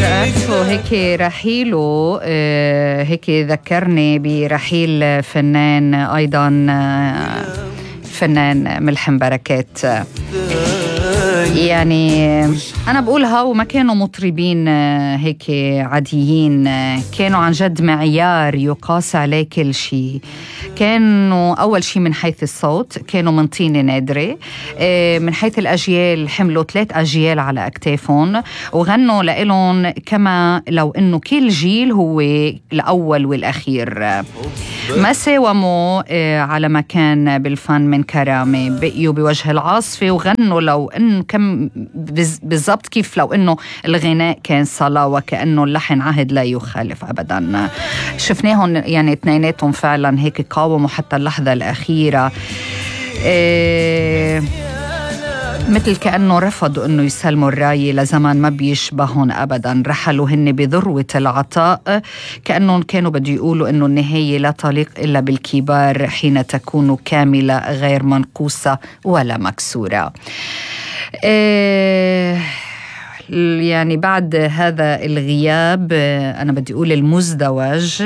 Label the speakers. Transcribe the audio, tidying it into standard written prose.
Speaker 1: رأسه هيك رحيله هيك ذكرني برحيل فنان أيضا فنان ملحم بركات. يعني أنا بقولها وما كانوا مطربين هيك عاديين، كانوا عن جد معيار يقاس عليه كل شيء. كانوا أول شيء من حيث الصوت كانوا من طينة نادرة، من حيث الأجيال حملوا 3 أجيال على أكتافهم وغنوا لإلهم كما لو إنه كل جيل هو الأول والأخير. ما ساوموا على مكان بالفن من كرامة، بقيوا بوجه العاصفة وغنوا لو إنه كم بالضبط كيف لو إنه الغناء كان صلاة وكأنه اللحن عهد لا يخالف أبدا. شفناهم يعني اثنيناتهم فعلا هيك قاوموا حتى اللحظة الأخيرة، مثل كأنه رفضوا أنه يسلموا الراية لزمن ما بيشبههم أبدا. رحلوا هن بذروة العطاء، كأنهم كانوا بده يقولوا أنه النهاية لا تليق إلا بالكبار حين تكون كاملة غير منقوصة ولا مكسورة. يعني بعد هذا الغياب أنا بدي أقول المزدوج